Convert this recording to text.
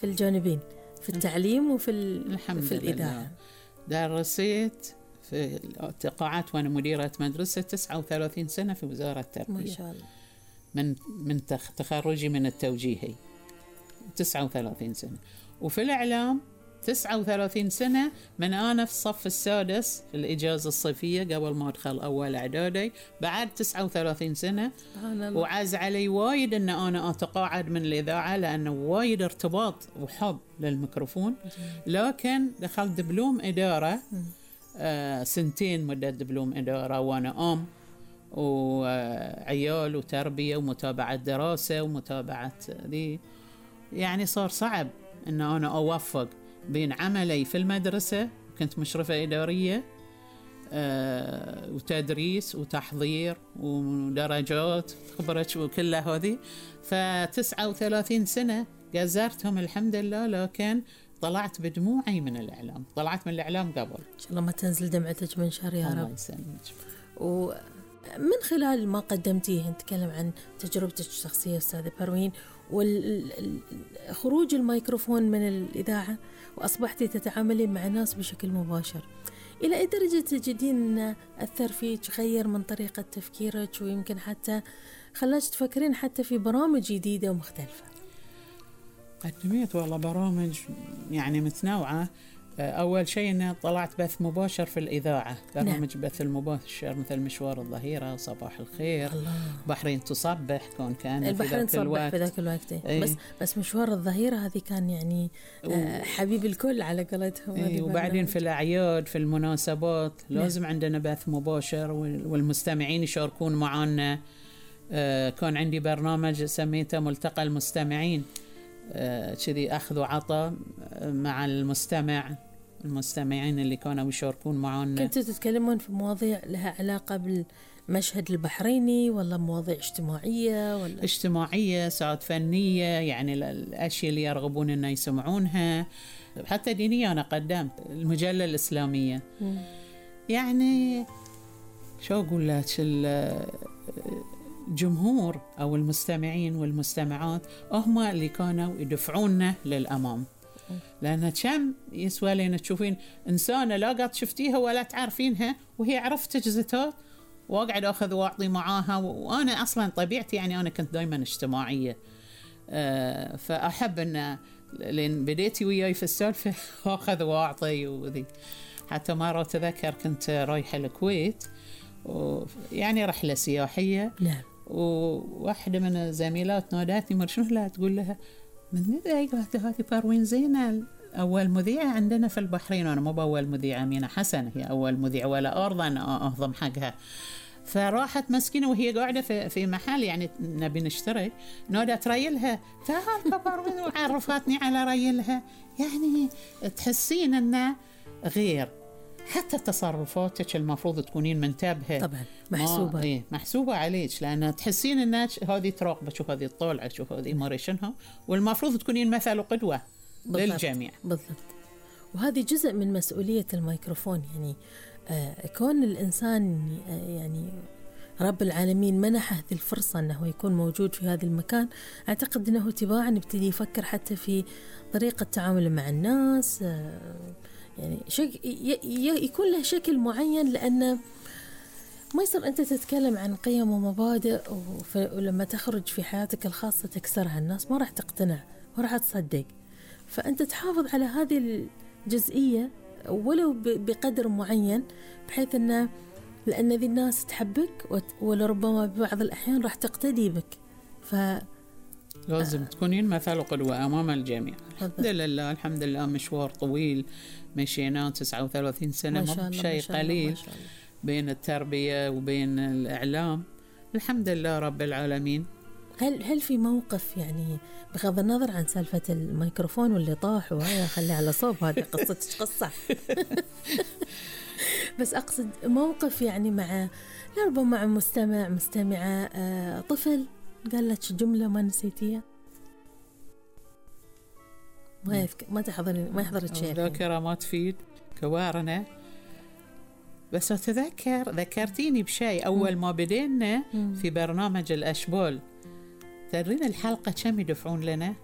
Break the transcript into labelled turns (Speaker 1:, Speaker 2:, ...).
Speaker 1: في الجانبين، في التعليم وفي
Speaker 2: الحمد
Speaker 1: الإذاعة.
Speaker 2: درست في التقاعدت وأنا مديرة مدرسة 39 سنة في وزارة التربية.
Speaker 1: ما شاء الله.
Speaker 2: من تخرجي من التوجيهي 39 سنة. وفي الإعلام 39 سنة من أنا في الصف السادس في الإجازة الصيفية قبل ما أدخل أول إعدادي، بعد 39 سنة. وعز علي وايد أن أنا أتقاعد من الإذاعة لأنه وايد ارتباط وحب للميكروفون. لكن دخلت دبلوم إدارة 2 سنين مدة دبلوم إدارة، وأنا وعيال وتربية ومتابعة دراسة ومتابعة دي. يعني صار صعب أن أنا أوفق بين عملي في المدرسة، كنت مشرفة إدارية وتدريس وتحضير ودرجات خبرة وكلها هذه. ف39 سنة جزرتهم الحمد لله، لكن طلعت بدموعي من الإعلام. طلعت من الإعلام قبل.
Speaker 1: إن شاء الله ما تنزل دمعتك من شر يا رب.
Speaker 2: الله يسلمك.
Speaker 1: ومن خلال ما قدمتيه نتكلم عن تجربتك الشخصية أستاذة بروين، وخروج الميكروفون من الإذاعة وأصبحتي تتعاملين مع الناس بشكل مباشر، إلى أي درجة تجدين أثر فيك، غير من طريقة تفكيرك، ويمكن حتى خلاك تفكرين حتى في برامج جديدة ومختلفة؟
Speaker 2: قدمت والله برامج يعني متنوعة. أول شيء أني طلعت بث مباشر في الإذاعة، برامج بث المباشر مثل مشوار الظهيرة، صباح الخير،
Speaker 1: الله.
Speaker 2: بحرين تصبح كان
Speaker 1: البحرين تصبح في ذاك الوقت. بس مشوار الظهيرة هذه كان يعني حبيب الكل على قولتهم.
Speaker 2: وبعدين في الأعياد في المناسبات لازم عندنا بث مباشر والمستمعين يشاركون معنا. كان عندي برنامج سميته ملتقى المستمعين، كذي أخذ وعطى مع المستمعين اللي كانوا يشاركون معنا.
Speaker 1: كنتوا تتكلمون في مواضيع لها علاقة بالمشهد البحريني، ولا مواضيع اجتماعية، ولا
Speaker 2: اجتماعية ساعات فنية، يعني الأشياء اللي يرغبون أن يسمعونها. حتى دينية أنا قدمت المجلة الإسلامية. يعني شو أقول لك، الجمهور أو المستمعين والمستمعات هم اللي كانوا يدفعوننا للأمام. لأن كم يسوى لنا تشوفين إنسانة لا قد شفتيها ولا تعرفينها وهي عرفتك زتات وأقعد أخذ وأعطي معاها. وأنا أصلا طبيعتي يعني أنا كنت دايما اجتماعية، فأحب أن لين بديتي وياي في السالفة أخذ وأعطي وذي. حتى مرة تذكر كنت رايحة الكويت يعني رحلة سياحية.
Speaker 1: نعم.
Speaker 2: وواحدة من الزميلات نادتني مرشوه لها تقول لها من ماذا قالت هذه بروين زينة أول مذيعة عندنا في البحرين. وأنا مو بأول مذيعة، أمينة حسن هي أول مذيعة ولا أرضى أن أهضم حقها. فراحت مسكينة وهي قاعدة في محل يعني نبي نشتري، نادت ريلها تعال بروين وعرفتني على ريلها. يعني تحسين أنه غير، حتى تصرفاتك المفروض تكونين منتبهة
Speaker 1: طبعا، محسوبة.
Speaker 2: محسوبة عليك، لأن تحسين أنك هذه تراقبة، شوف هذه الطولعة، شوف هذه مارشنها، والمفروض تكونين مثل وقدوة للجميع.
Speaker 1: بالضبط. وهذه جزء من مسؤولية الميكروفون. يعني كون الإنسان يعني رب العالمين منحه هذه الفرصة أنه يكون موجود في هذا المكان، أعتقد أنه تباعا يبتدي يفكر حتى في طريقة تعامله مع الناس، يعني يكون له شكل معين، لأنه ما يصير أنت تتكلم عن قيم ومبادئ ولما تخرج في حياتك الخاصة تكسرها. الناس ما راح تقتنع وراح تصدق. فأنت تحافظ على هذه الجزئية ولو بقدر معين، بحيث أنه لأن ذي الناس تحبك ولربما ببعض الأحيان راح تقتدي بك.
Speaker 2: لازم تكونين مثل وقدوة أمام الجميع. الحمد لله مشوار طويل مشينا 39 سنة، مو شيء قليل بين التربية وبين الإعلام. الحمد لله رب العالمين.
Speaker 1: هل في موقف، يعني بغض النظر عن سالفة الميكروفون واللي طاح وهي خلي على صوب، هذه قصتك قصة بس أقصد موقف يعني مع ربما مع مستمعة طفل قال لك جملة ما نسيتيها؟ ما يحضرك شيء.
Speaker 2: ذاكرة ما تفيد كوارنا. بس ذكرتيني بشيء. أول ما بدينا في برنامج الأشبال، تدرين الحلقة كم يدفعون لنا؟